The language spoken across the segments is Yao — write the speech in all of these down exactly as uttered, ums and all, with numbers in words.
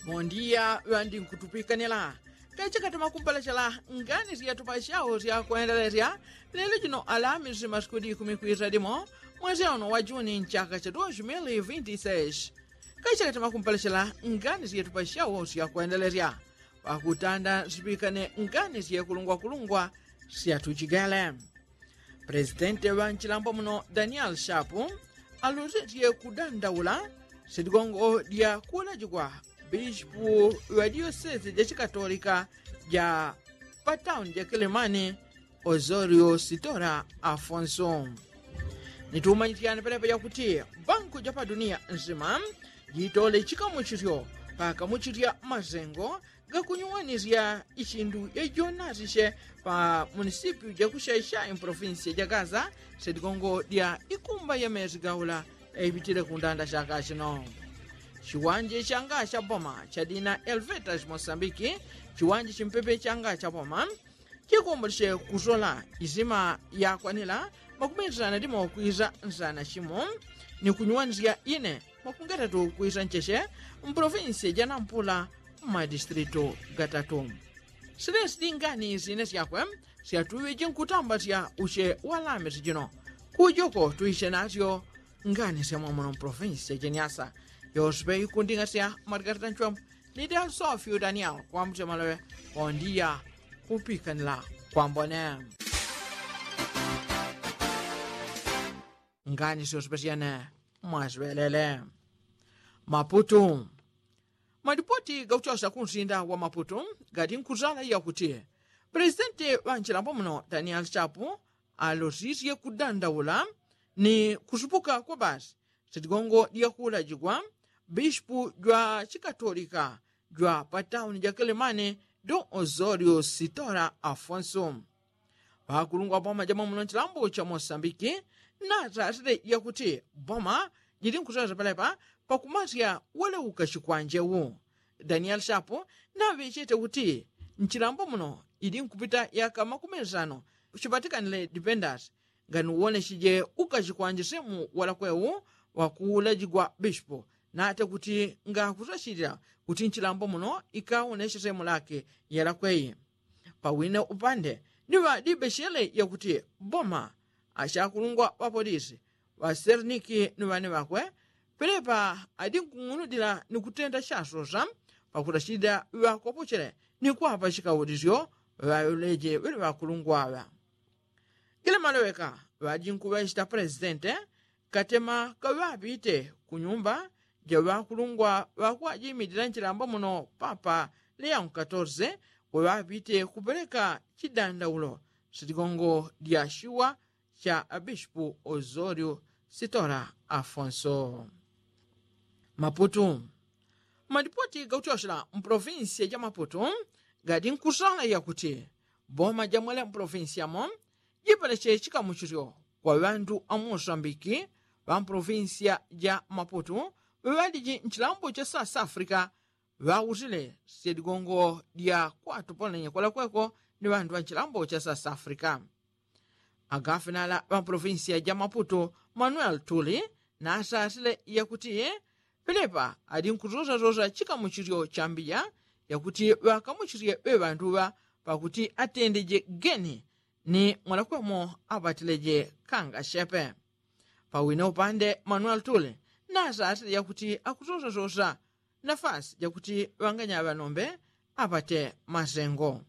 Mondiya ŵandi nkutupikanila kachakatama kumpalachela ngani syatupa syao syakwendelesya lelo jino alamisi masiku di ikumi kwisa limo mwezi ono wa juni nchaka cha dos mil vinti seis. Kachakatama kumpalachela ngani syatupa syao syakwendelesya pakutanda sipikane ngani syekulungwakulungwa syatuchigele. Presidente ŵa nchilambo muno daniel shapu alusisye kudandaula sitigongo dya kuulajigwa bishipu ŵa diyosesi ja chikatolika ja patauni ja kilimani osorio sitora afonso. Nitumanyityane pelepa yakuti banku ja paduniya nsima jitole chikamuchisyo pakamuchisya masengo gakunyuwanisya ichindu yajonasisye pa munisipyu jakusyaisya impolofinsiya ja gaza sedigongo dya ikumba ya mesi gaula yaipitile kundanda syaka sino. Chiwanje changa cha boma chadina elveta chimosambiki chiwanje chimpepe changa cha boma chikumbulisye kusola isima yakwanila makumeni sana dimo kwisa nsana chimo ni kunyuwanisya ine makungetatu kwisa ncheche mpolofinsiya ja nampula mmadistritu gatatu. Silesi dingani sine syakwe syatuŵe jinkutamba sya uche walame sijino kujoko tuiche nasyo. Ngani syamwamuno mpolofinsiya ja nyasa yoswe ikundinga sya madigarita nchwambu ni delsofyu daniel kwambucha maloŵe kondiya kupikanila kwambone. Ngani syoswe syene mwaswelele. Maputu. Malipoti gakuchosya kunsinda wa maputu gati nkusala yakuti presidenti wa nchilambo muno daniel chapu alosisye kudandaula ni kusupuka kwa basi sitigongo dyakulajigwa bishipu jwa chikatolika jwa patauni ja kilimani don osorio sitora afonso. Ŵakulungwa boma jamwe muno nchilambo cha mosambiki natasile yakuti boma jili nkusweza pelepa pakumasya waleuka chikwanje wu. Daniel shapu naŵechete kuti nchilambo muno ili nkupita yaka makumeni sano chipatikanile dipendasi nganuwoneshije ukachikwanje semu walakwe wu wakuulajigwa bishipu nate kuti ngakusachilila kuti nchilambo muno ikawoneshe semu lake yalakwe yi. Pawine upande ni ŵadibeshele yakuti boma achakulungwa ŵapolisi ŵaserniki ni ŵane ŵakwe pelepa adinkung'unudila ni kutenda chasosa pakulachilila ŵakopochele ni kwapa chikaulisyo ŵaŵeleje ŵele ŵakulungwa ŵa. Gile maloweka ŵajinkuŵechita presidente katema kaŵapite kunyumba jaŵakulungwa ŵakwajimilila nchilambo muno papa leon katorse. Kuŵapite kupeleka chidandaulo sitigongo dya chiwa cha abishipu osorio sitora afonso. Maputu. Malipoti gakuchochela mpolofinsiya ja maputu gadi nkusala yakuti boma jamwele mpolofinsiya mo jipeleche chikamuchilyo kwa ŵandu a mosambiki ŵa mpolofinsiya ja maputu ŵaliji nchilambo cha south africa ŵausile syedigongo dya kwatupolenye kwalakweko ni ŵandu ŵa nchilambo cha south africa. Agafinala ŵa mpolofinsiya ja maputu manuel tuli nasasile yakuti pelepa ali nkusosasosa chikamuchilyo chambiya yakuti ŵakamuchilye ŵe ŵandu ŵa pakuti atendeje geni ni mwalakwemo apatileje kanga shepe. Pawine upande manuel tuli nasasile yakuti akusosasosa nafasi jakuti ŵanganya ŵanombe apate masengo.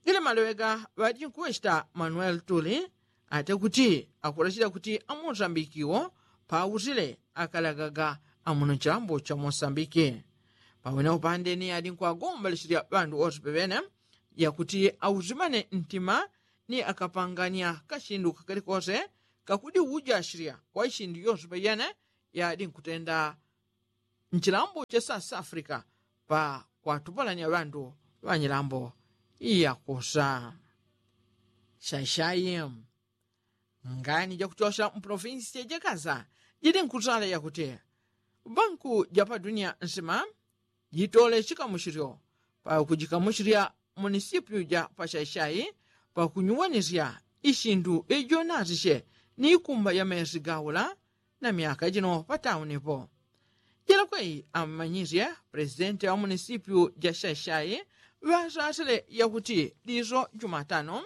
Gile maloweka ŵajinkuŵechita manuel tuli ate kuti akulachila kuti amosambikiwo pausile akalagaga amuno nchilambo cha mosambiki. Pawine upande ni adinkwagombalachilya ŵandu wose peŵene yakuti ausimane ntima ni akapanganya kachindu kakalikose kakudi ujachilya kwa ichindu yose peyene yadinkutenda nchilambo cha south africa pa kwatupalanya ŵandu ŵanyilambo yakusa. Shashai. Ngani jakuchosha mpolofinsiya jakasa jidi nkusala yakuti banku japadunia nsima jitole chikamuchilyo pakujikamuchilya munisipyu ja pashashai pakunyuwanisya ichindu ijonasisye ni ikumba ya mesi gaula na myaka jino pataunipo. Ela kwei ammanyisye presidenti wa munisipyu ja shaishai ŵasasile yakuti liso jumatano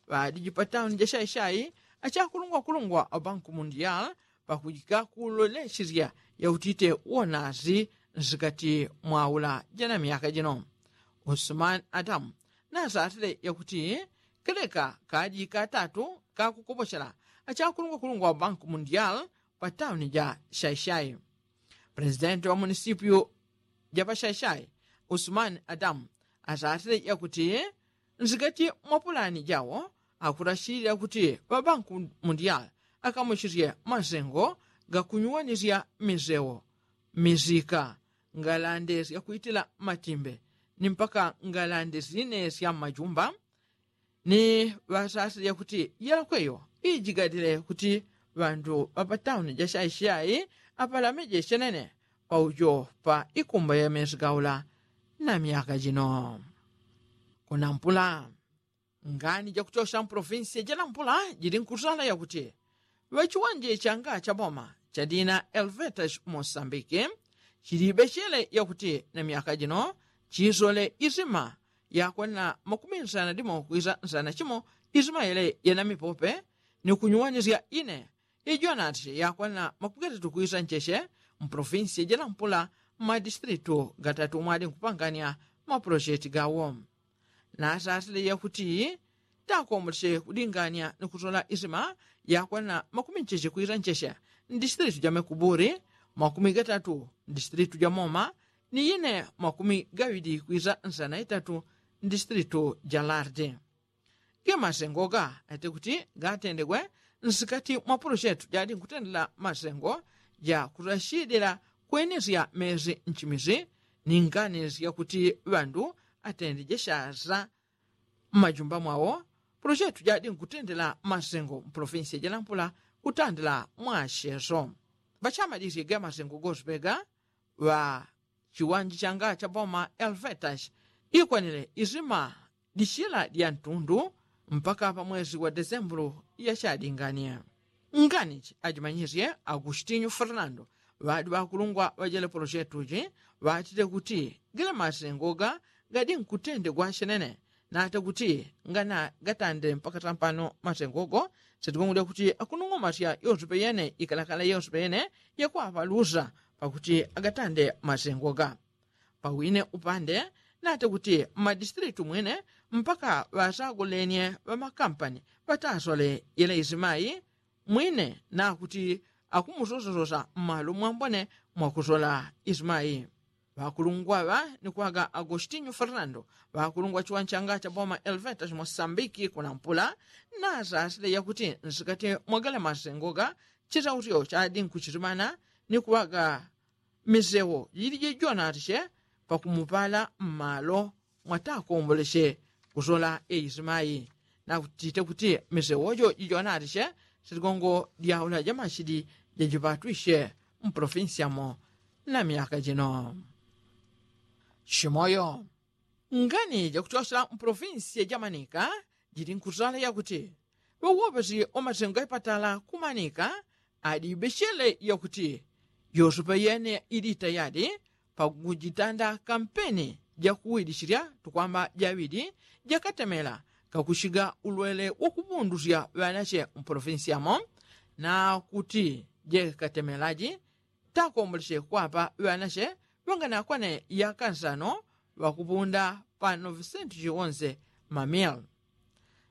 ŵadiji pa tauni ja shaishai achakulungwakulungwa wa banku mundial pakujika kuloleshisya yakuti ite uonasi nsikati mwaula jana myaka jino. Usumani adamu nasasile yakuti keleka kaji katatu kakukoposhela achakulungwakulungwa wa banku mundial pa tauni ja shaishai. Presidenti wa munisipyu ja pa shaishai usumani adamu asasile yakuti nsikati mwa pulani jawo akurashilila kuti ŵabanku mundial akamushisye masengo gakunyuwanisya misewo, misika, ngalande syakwitila matimbe ni mpaka ngalande sine sya mmajumba. Ni ŵasasile yakuti yelakweyo ijigadile kuti ŵandu ŵa pa tauni ja shaishai apalameje shenene paujo pa ikumba ya mesi gaula na myaka jino. Kunampula ngani jakuchosha mpolofinsi janampula jili nkusala yakuti ŵachiwanje changa cha boma cha dina elvetas mosambiki chilibechele yakuti na myaka jino chisole isima yakwanila makumi nsana dimo kwisa nsana chimo isima yele yana mipope ni kunyuwanisya ine ijonati yakwanila makumi gatatu kwisa ncheche mpolofinsi janampula mmadistilitu gatatu mwali nkupangania mapolosheti gawo. Nasasile yakuti takomboleche kudingania ni kusola isima yakwanila makumi ncheche kwisa ncheche ndisitilitu ja mekuburi makumi gatatu ndisitilitu ja moma ni ine makumi gaŵili kwisa nsana itatu ndisitilitu ja lardi. Ge masengo ga ate kuti gatendegwe nsikati mwa polochetu jadi nkutendela masengo ja kutachidila kwenesya mesi nchimisi ni nganisi yakuti ŵandu atende jeshasa mmajumba mwawo. Polochetu jadi nkutendela masengo mpolofinsi jalampula kutandila mwacheso ŵachamadisye ge masengo gosipega ŵa chiwanje changa cha boma elvetas ikwanile isima dichila dya ntundu mpaka pa mwesi wa desembulu yachadingania. Nganichi ajimanyisye agustinyu fernando ŵadi ŵakulungwa ŵajele polochetuchi ŵatite kuti gele masengo ga gadi nkutendegwa chenene nata kuti ngana gatande mpaka tampano masengo go sitigongodya kuti akunung'omasya yonsepe yene ikalakala yonsepe yene yakwapa lusa pakuti agatande masengo ga. Pawine upande nata kuti mmadisitilitu mwine mpaka ŵasagolenye ŵamakampani ŵatasole yele isimayi mwine nakuti akumusosasosa mmalo mwambone mwakusola isimayi. Ŵakulungwa ŵa ni kwaga agostinyu fernando ŵakulungwa chiwanchanga cha boma elvetas mosambiki kunampula nasasile yakuti nsikati mwagale masengo ga chisautyo chadi nkuchitimana ni kuŵaga misewo jilije jonatiche pakumupala mmalo mwatakomboleche kusola eisimayi nakutite kuti misewojo jijonatiche sitigongo dyaula jamachidi jajipatwiche mpolofinsi yamo na myaka jino. Chimoyo ngani jakuchosela mpolofinsi ya jamanika jili nkusala yakuti ŵawopesi wamasengo gaipatala kumanika adibechele yakuti yosepe yene ili tayadi pakujitanda kampeni jakuwilichilya tukwamba jawili jakatemela kakuchiga ulwele wakupundusya ŵanache mpolofinsi yamo nakuti jekatemelaji takomboleche kwapa ŵanache ŵanganakwane yaka nsano ŵakupunda pa novisentu chiwonse mamil.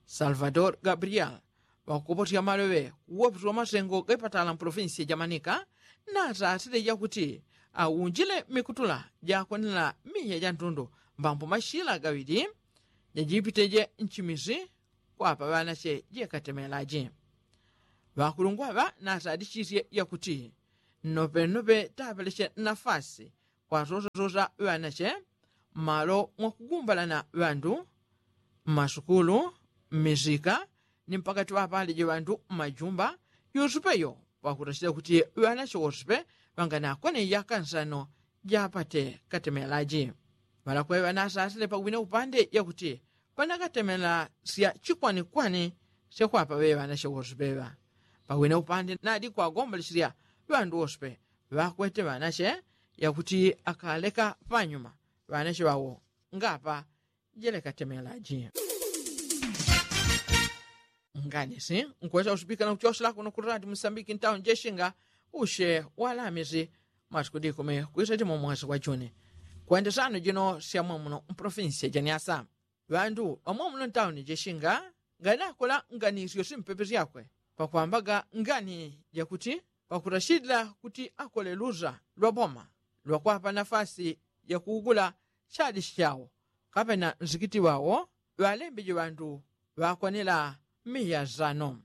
Salvador gabriel ŵakukopothya maloŵe kuwopeswa masengo gaipatala mpolofinsi jamanika nasasile jakuti aunjile mikutula jakwanila miya jantundu mbambo machila gaŵili jajipiteje nchimisi kwapa ŵanache jekatemelaji. Ŵakulungwa ŵa nasadichisye yakuti nnopenope tapeleche nafasi kwasosasosa ŵanache mmalo mwakugumbalana ŵandu mmasukulu mmisika ni mpakati ŵapaleje ŵandu mmajumba yosepe yo pakutachila kuti ŵanache wosepe ŵanganakwane yaka nsano japate katemelaji. Ŵalakweŵa nasasile pawine upande yakuti panakatemela sya chikwanikwani syakwapa ŵeŵa nache wosepeŵa pawine upande nadi kwagombolesilya ŵandu wosepe ŵakwete ŵanache yakuti akaleka panyuma ŵanache ŵawo ngapa jelekatemelaji. Nganisi nkwesa usupikana kuchosela kuno kurati musambiki ntauni jeshinga ushe walamisi masiku dikumi kwiseti mu mwesi wa juni. Kwende sano jino sya mwamuno mpolofinsi ya janiasa ŵandu ŵamwamuno ntauni jeshinga nganakola ngani syosi mpepe syakwe pakwambaga ngani jakuti pakurashilila kuti akole lusa lwa boma lwakwapa nafasi yakuugula shadi shawo kapena nsikiti wawo ŵalembeje ŵandu ŵakwanila miya sano.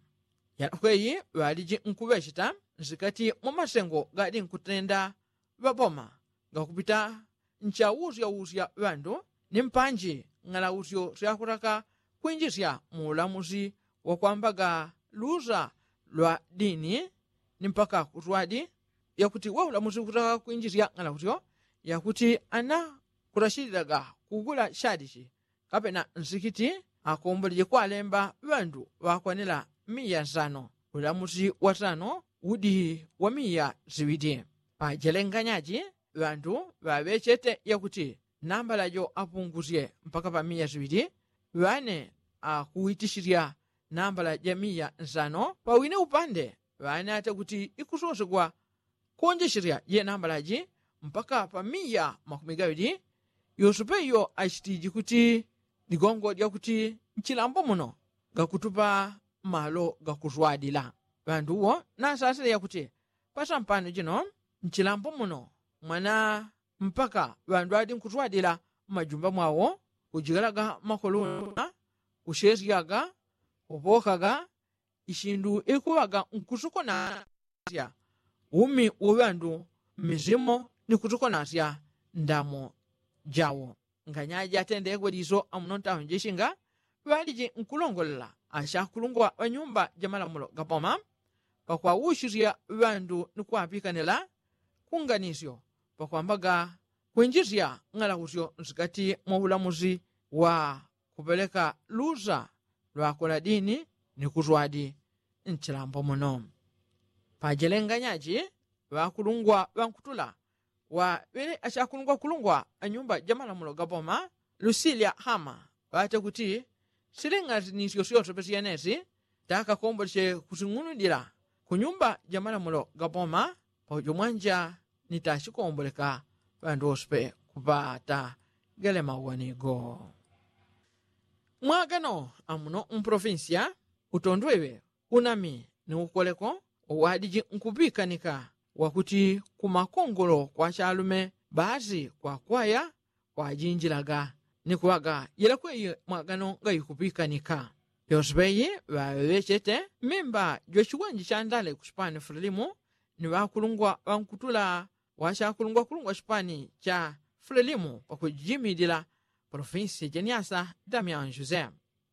Yalakweyi ŵaliji nkuŵecheta nsikati mwa masengo gali nkutenda ŵaboma gakupita nchausyawusya ŵandu ni mpanji ng'alausyo syakutaka kwinjisya mu ulamusi wakwambaga lusa lwa dini ni mpaka kuswadi yakuti wa ulamusi kutaka kwinjisya ng'alausyo yakuti ana kutashililaga kugula shadishi kapena nsikiti akomboleje kwalemba ŵandu ŵakwanila miya sano ulamusi wa sano udi wa miya siŵili. Pajelenganyaji ŵandu ŵaŵechete yakuti nambala jo apungusye mpaka pa miya siŵili ŵane akuwitishisya nambala ja miya nsano pawine upande ŵane ata kuti ikusosegwa kuwonjesesya je nambala ji mpaka pa miya makumi gaŵili. Yosepe iyo achitiji kuti ligongo lyakuti nchilambo muno gakutupa malo gakuswadila ŵandu uwo nasasile yakuti pasampano jino nchilambo muno mwana mpaka ŵandu ŵadi nkuswadila mmajumba mwawo kujigalaga makoluna kushesyaga kupokaga ishindu ikuŵaga nkusukunasya umi uŵandu mmizimo ni kusukunasya ndamo jawo. Nganyaji atendekwe liso amuno ntauni jeshinga ŵaliji nkulongolela ashakulungwa ŵanyumba jamalamulo gapoma pakwawushisya ŵandu ni kwapikanila kunganisyo pakwambaga kwinjisya ng'alausyo nsikati mwa ulamusi wa kupeleka lusa lwakola dini ni kuswadi nchilambo muno. Pajelenganyaji ŵakulungwa ŵankutula waŵele ashakulungwa kulungwa anyumba jamalamulo gapoma lusilya hama ŵate kuti siling'azinisyo syosepe syenesi takakomboleche kusing'unudila kunyumba jamalamulo gapoma paujo mwanja ni tashikomboleka ŵandu wosepe kupata gele mauwanigo. Mwagano amuno mpolofinsiya utondweŵe unami ni ukoleko uŵadiji nkupikanika wakuti kumakongolo kwa chalume basi kwakwaya kwajinjilaga ni kuŵaga yelekweyi mwagano ngaikupikanika. Yosepe yi ŵaŵechete mmimba jwachiwanje chandale kuchipani fulelimu ni ŵakulungwa ŵankutula wachakulungwakulungwa chipani cha fulelimu pakujimilila polofinsi jeniasa damian jose.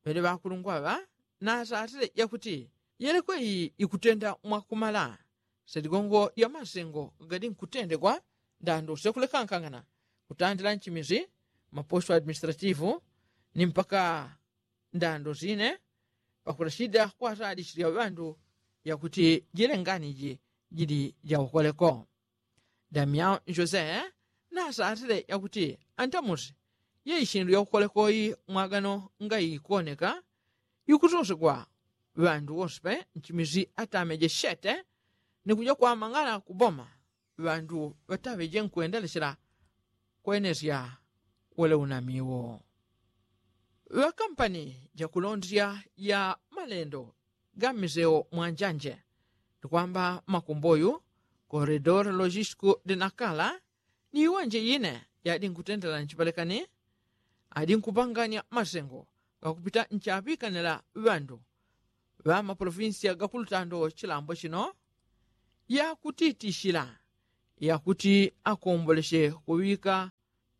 Ŵele ŵakulungwa ŵa nasasile jakuti yelekweyi ikutenda mwakumala seligongo lya masengo gadi nkutendegwa ndando syakulekankangana kutandila nchimisi maposto administrativu ni mpaka ndando sine pakulashida kwasalisila ŵandu yakuti jilenganiji jili jaukoleko. Damian jose nasasile yakuti antamusi ye ishindu yaukoleko yi mwagano ngaikoneka ikusosegwa ŵandu wosepe nchimisi atameje shete ni kuja kwamang'ala kuboma ŵandu ŵataŵeje nkwendelechela kwenesya wele unamiwo. Ŵakampani jakulondesya ya malendo ga mmiseo mwanjanje ni kwamba makumboyu koredor logistiku dinakala ni iwanje ine yadi nkutendela nchipelekani adi nkupanganya masengo gakupita nchaŵikanila ŵandu ŵa mapolofinsiya gakulutando chilambo chino yakutitishila yakuti akomboleche kuŵika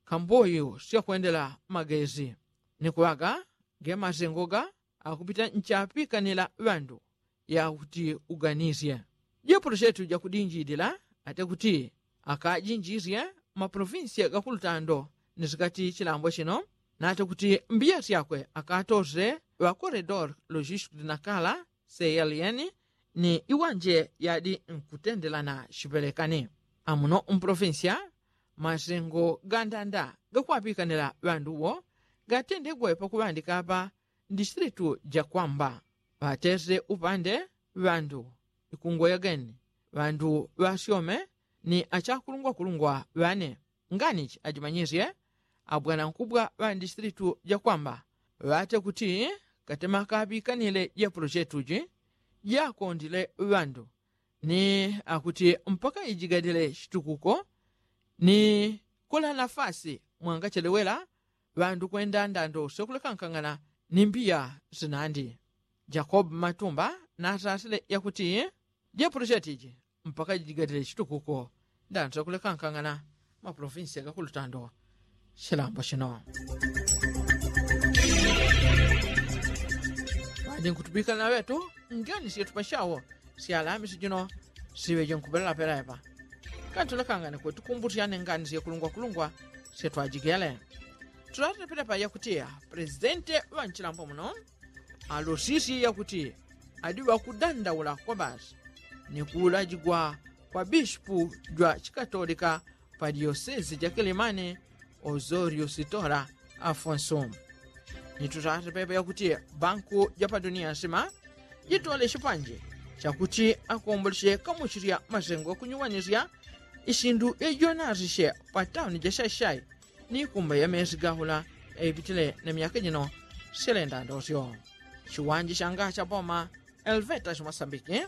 kamboyu syakwendela magesi ni kuŵaga ge masengo ga akupita nchapikanila ŵandu yakuti uganisye. Jepulo chetu jakudinjilila ate kuti akajinjisye mapolofinsiya gakulutando ni sikati chilambo chino nate kuti mbiya syakwe akatose ŵakoredor logistiku dinakala seyaliyeni ni iwanje yadi nkutendelana chipelekani. Amuno mpolofinsiya masengo gandanda gakwapikanila ŵandu wo gatendegwe pakuŵandika apa ndisitilitu jakwamba ŵatese upande ŵandu ikungoya geni ŵandu ŵasyome ni achakulungwakulungwa ŵane. Nganichi ajimanyisye abwanankubwa ŵa ndisitilitu jakwamba ŵate kuti katema kaŵikanile jepolochetu ji jakondile ŵandu ni akuti mpaka ijigadile chitukuko ni kula nafasi mwangachelewela ŵandu kwenda ndando syokulekankang'ana ni mbiya sinandi. Jakobu matumba nasasile yakuti jepolocheti ji mpaka jijigatile chitukuko ndando syokulekankang'ana mapolofinsi gakulutando. Chilambo chino ŵadi nkutupikana ŵetu ngeni syetupachawo syalamisi jino siŵe jinkupelelapela epa. Kantulekangane kwetukumbutyane ngani syekulungwakulungwa syetwajigele. Tulatepelepa yakutiya pulezidente ŵanchilambo muno alosisye yakuti adi ŵakudandaula kwa basi ni kuulajigwa kwa bishipu jwa chikatolika pa diyosesi ja kilimani ozorio sitora afonso. Ni tutate pepe yakuti banku ja pa duniya nsima jitole chipanje chakuti akomboleche kamuchilya masengo kunyuwanisya isindu ejonarishe pa tauni ja shashai ni kumba ya mesi gahula eipitile na myaka jino. Silenda ndosyo chiwanje shanga cha boma elveta shimasambiki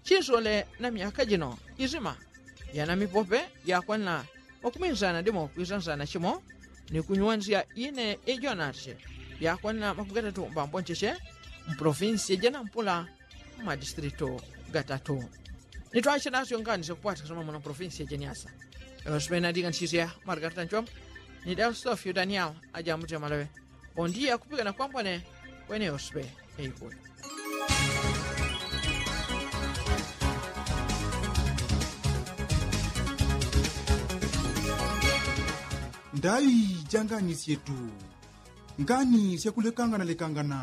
chisole na myaka jino isima yana mipope yakwanila makuminsana dimo kwisansana chimo ni kunyuwanisya ine ejonarishe yakwanila makumigatatu mbamboncheche mpolofinsi janampula mmadisitilitu gatatu. Nitwachenasyo ngani syakupwatikana muno polofinsi jeniasa eosipena diganisisya margarita nchombo ni dausofyo daniel ajambuti amalawe. Bondiya kupikana kwambone kwene eosipe eikuli. Ndai janganisyetu ngani syakulekangana lekangana.